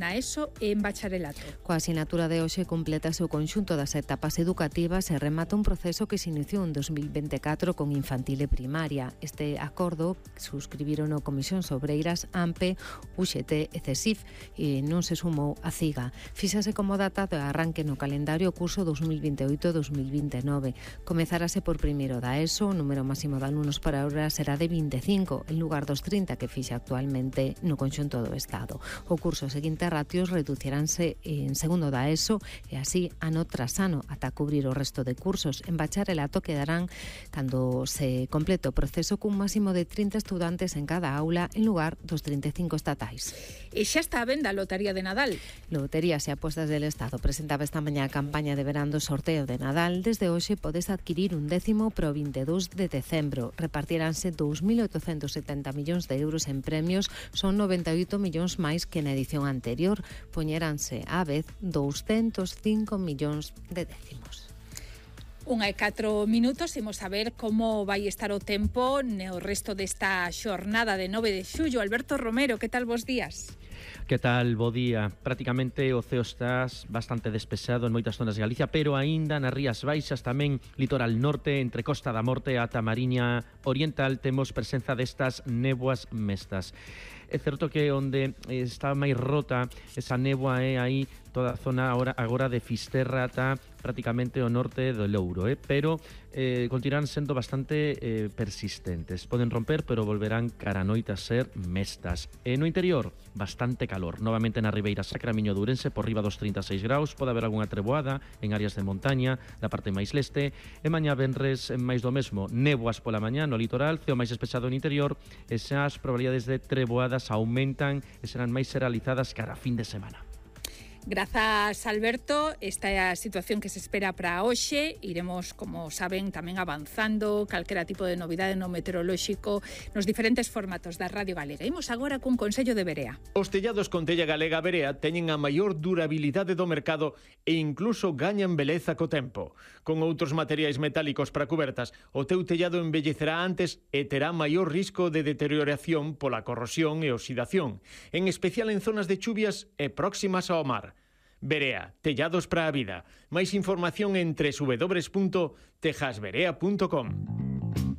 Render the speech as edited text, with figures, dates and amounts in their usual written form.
na ESO e en bacharelato. Coa sinatura de hoxe complétase o conxunto das etapas educativas e remata un proceso que se iniciou en 2024 con infantil e primaria. Este acordo suscribiron o Comisión Obreiras, AMPE, UGT e CESIF e non se sumou a CIGA. Fíxase como data de arranque no calendario o curso 2028-2029. Comezarase por primeiro da ESO, o número máximo de alumnos para ahora será de 25, en lugar dos 30 que fixa actualmente no conxunto do Estado. O curso seguinte ratios reduciránse en segundo da ESO e así ano tras ano ata cubrir o resto de cursos. En bacharelato quedarán, cando se complete o proceso, cun máximo de 30 estudantes en cada aula en lugar dos 35 estatais. E xa está a venda a Lotería de Nadal. Loterías e Apostas del Estado presentaba esta mañá a campaña de verán do sorteo de Nadal. Desde hoxe podes adquirir un décimo pro 22 de decembro. Repartiránse 2.870 millóns de euros en premios, son 98 millóns máis que na edición anterior. Poñeranse á vez 205 millóns de décimos. 1:04, imos a ver como vai estar o tempo no resto desta xornada de 9 de xullo. Alberto Romero, que tal vos días? Que tal, bo día? Prácticamente o ceo está bastante despexado en moitas zonas de Galicia, pero aínda nas Rías Baixas, tamén litoral norte, entre Costa da Morte ata Mariña Oriental, temos presenza destas néboas mestas. É certo que onde está máis rota esa néboa é aí toda a zona agora de Fisterra ata prácticamente o norte do Louro, pero continuarán sendo bastante persistentes. Poden romper, pero volverán cara a noite a ser mestas. E no interior, bastante calor. Novamente na Ribeira Sacra, Miño de Ourense, por riba dos 36 graus. Pode haber algunha treboada en áreas de montaña, da parte máis leste. E mañá venres máis do mesmo. Néboas pola mañá no litoral, ceo máis despexado no interior, e xa as probabilidades de treboadas aumentan e serán máis seralizadas cara a fin de semana. Grazas, Alberto. Esta é a situación que se espera para hoxe. Iremos, como saben, tamén avanzando calquera tipo de novidade no meteorolóxico nos diferentes formatos da Radio Galega. Imos agora cun consello de Berea. Os tellados con tella galega Berea teñen a maior durabilidade do mercado e incluso gañan beleza co tempo. Con outros materiais metálicos para cubertas, o teu tellado envellecerá antes e terá maior risco de deterioración pola corrosión e oxidación, en especial en zonas de chuvias e próximas ao mar. Berea, tellados para a vida. Máis información en www.tejasberea.com.